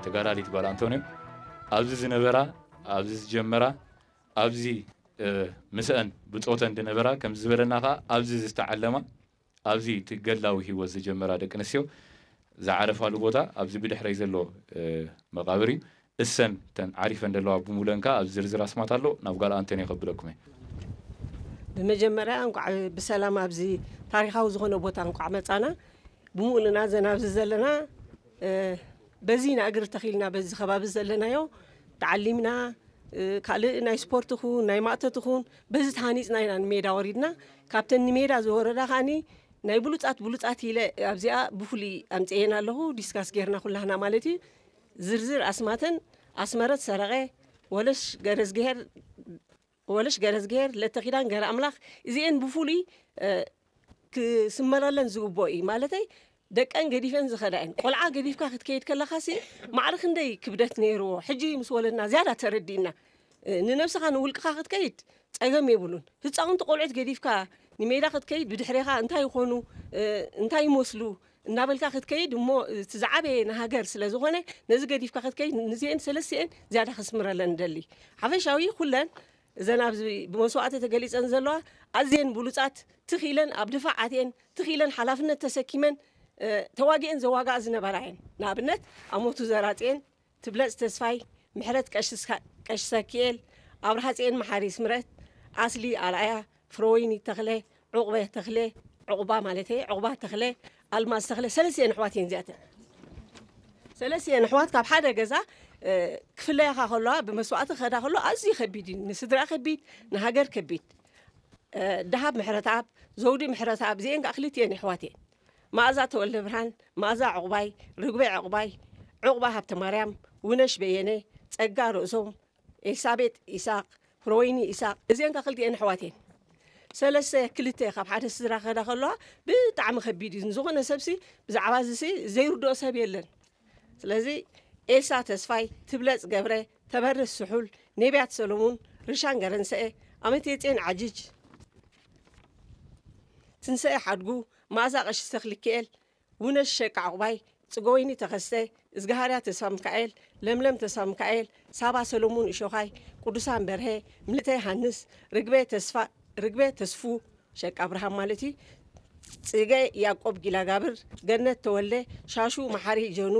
ተጋዳሊት ጓል ኣንቶንዮ ኣብዚ ዝነበራ፣ ኣብዚ ዝጀመራ፣ ኣብዚ ምስአን ብጾተን ዝነበራ ከም ዝበለና ከኣ ኣብዚ ዝተዓለማ፣ ኣብዚ እቲ ገድላዊ ህይወት ዝጀመራ ደቂ ኣንስትዮ ዝዓረፋሉ ቦታ ኣብዚ ብድሕረይ ዘሎ መቓብር እዩ። እሰን ተን ዓሪፈን ዘለዋ ብሙለን ከኣ ኣብ ዝርዝር ኣስማት ኣሎ። ናብ ጓል ኣንቶንዮ ከብለኩም እየ። ብመጀመርያ እንኳዕ ብሰላም ኣብዚ ታሪኻዊ ዝኾነ ቦታ እንኳዕ መጻና። ብሙሉና ዘን ኣብዚ ዘለና በዚና እግሪ ተኺልና በዚ ከባቢ ዘለናዮ ተዓሊምና፣ ካልእ ናይ ስፖርት ኹን ናይ ማእቶት ኹን በዚ ተሃኒፅና ኢና ንሜዳ ወሪድና። ካብተን ንሜዳ ዝወረዳ ከዓኒ ናይ ብሉፃት ብሉፃት ኢለ ኣብዚኣ ብፍሉይ ኣምፅኤን ኣለኹ። ዲስካስ ጌርና ኩላህና ማለት እዩ። ዝርዝር ኣስማተን ኣስመረት ሰረቐ፣ ወለሽ ገረዝግሄር ወለሽ ገረዝግሄር፣ ለተኺዳን ገረ ኣምላኽ፣ እዚኤን ብፍሉይ ክስመረለን ዝግብኦ እዩ። ማለተይ ደቀን ገዲፈን ዝኸዳ እየን። ቆልዓ ገዲፍካ ክትከይድ ከለኻሲ ማዕረ ክንደይ ክብደት ነይርዎ። ሕጂ ምስ ወለድና ዝያዳ ተረዲእና። ንነብስኻ ንውልቅኻ ክትከይድ ጸገም የብሉን። ህፃውንቲ ቆልዑት ገዲፍካ ንሜዳ ክትከይድ ብድሕሬኻ እንታይ ይኾኑ፣ እንታይ ይመስሉ እናበልካ ክትከይድ እሞ እቲ ዝዓበየ ንሃገር ስለ ዝኾነ ነዚ ገዲፍካ ክትከይድ ንዚአን ሰለስቲአን ዝያዳ ክስምረለን ንደሊ። ሓፈሻዊ ኩለን እዘን ኣብዚ ብመስዋእቲ ተገሊጸን ዘለዋ ኣዝየን ብሉጻት ትኺለን ኣብ ድፋዕ ኣትየን ትኺለን ሓላፍነት ተሰኪመን ተዋጊአን ዘዋግኣ ዝነበራ እየን። ንኣብነት ኣሞቱ ዘራጽየን፣ ትብለጽ ተስፋይ፣ ምሕረት ቀሺ ሰኪኤል፣ ኣብርሃጽየን መሓሪ ስምረት፣ ኣስሊ ኣርኣያ፣ ፍረወይኒ ተኽለ፣ ዑቕበ ተኽለ፣ ዑቕባ ማለት እየ፣ ዑቕባ ተኽለ፣ ኣልማዝ ተኽለ፣ ሰለስቲአን ኣሕዋት እየን እዚኣተን። ሰለስቲአን ኣሕዋት ካብ ሓደ ገዛ ክፍለያኻ ከለዋ ብመስዋእቲ ክኸዳ ከለዋ ኣዝዩ ከቢድ እዩ። ንስድራ ከቢድ፣ ንሃገር ከቢድ። ደሃብ ምሕረተኣብ፣ ዘውዲ ምሕረተኣብ እዚአን ከዓ ክልቲአን ኣሕዋት እየን። መኣዛ ተወልደ ብርሃን፣ መኣዛ ዕቑባይ፣ ርግበ ዕቑባይ፣ ዕቑባ ሃብተማርያም፣ ውነሽ በየነ፣ ጸጋ ርእሶም፣ ኤልሳቤጥ ኢሳቕ፣ ፍረወይኒ ኢሳቕ፣ እዚአን ከዓ ክልቲአን ኣሕዋት እየን። ሰለስተ ክልተ ካብ ሓደ ስድራ ክኸዳ ከለዋ ብጣዕሚ ከቢድ እዩ። ንዝኾነ ሰብሲ ብዛዕባ እዚሲ ዘይርድኦ ሰብ የለን። ስለዚ ኤልሳ ተስፋይ፣ ትብለጽ ገብረ፣ ተበርህ ስሑል፣ ነቢያት ሰሎሙን፣ ርሻን ገረንሰኤ፣ ኣመቴጼን ዓጅጅ፣ ትንሰኤ ሓድጉ፣ መኣዛ ቀሺ ተኽልኪኤል፣ ውነሽ ሸቃ ዕቑባይ፣ ጽገወይኒ ተኸስተ፣ እዝግሃርያ ተስፋ ሚካኤል፣ ለምለም ተስፋ ሚካኤል፣ ሳባ ሰሎሙን እሾኻይ፣ ቅዱሳን በርሀ፣ ምልእተ ዮሃንስ፣ ርግበ ተስፋ ርግበ ተስፉ ሸቃ ኣብርሃም ማለት እዩ። ጽገ ያዕቆብ ጊላጋብር፣ ገነት ተወልደ፣ ሻሹ መሓሪ ጀኑ፣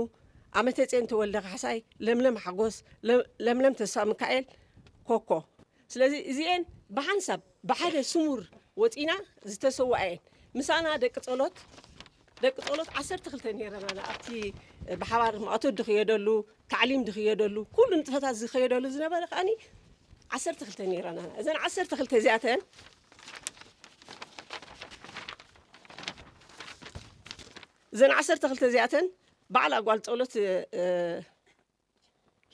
ኣመተጼን ተወልደ ካሕሳይ፣ ለምለም ሓጎስ፣ ለምለም ተስፋ ሚካኤል፣ ኮኮ። ስለዚ እዚኤን ብሓንሳብ ብሓደ ስሙር ወፂና ዝተሰውኣ እየን። ምሳና ደቂ ጸሎት ደቂ ጸሎት ዓሰርተ ክልተ ነይረና ኣብቲ ብሓባር ማእቶት ዝኽየደሉ ታዕሊም ዝኽየደሉ ኩሉ ንጥፈታት ዝኸየደሉ ዝነበረ ከዓኒ ዓሰርተ ክልተ ነይረና። እዘን ዓሰርተ ክልተ እዚኣተን እዘን ዓሰርተ ክልተ እዚኣተን ባዕላ ጓል ጸሎት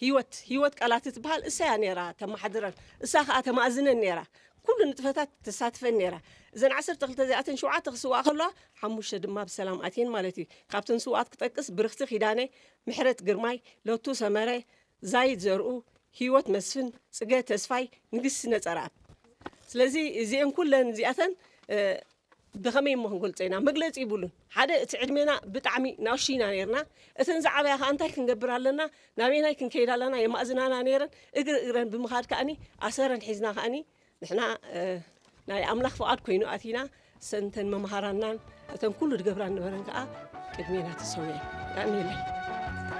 ህይወት ህይወት ቃላት ትበሃል እሳ እያ ነይራ ተመሓድረን እሳ ከዓ ተማእዝነን ነይራ። ኩሉ ንጥፈታት ተሳትፈን ነይራ። እዘን ዓሰርተ ክልተ እዚኣተን ሸውዓተ ክስውኣ ከለዋ ሓሙሽተ ድማ ብሰላም ኣትየን ማለት እዩ። ካብተን ስውኣት ክጠቅስ ብርኽቲ ኪዳነ፣ ምሕረት ግርማይ፣ ለቱ ሰመረ፣ ዛይድ ዘርኡ፣ ህይወት መስፍን፣ ጽገ ተስፋይ፣ ንግስቲ ነጸረኣብ። ስለዚ እዚአን ኩለን እዚኣተን ብኸመይ እሞ ክንገልጾ ኢና? መግለጺ ይብሉን። ሓደ እቲ ዕድሜና ብጣዕሚ ናእሽቱ ኢና ነይርና። እተን ዝዓበያ ከኣ እንታይ ክንገብር ኣለና? ናበየናይ ክንከይድ ኣለና? የማእዝናና ነይረን። እግሪ እግረን ብምኻድ ከኣኒ ኣሰረን ሒዝና ከኣኒ ንሕና ናይ ኣምላኽ ፍቓድ ኮይኑ ኣቲና ሰንተን መምሃራናን እተን ኩሉ ድገብራ ነበረን ከኣ ቅድሜና ተሰውየን። ያኒለይ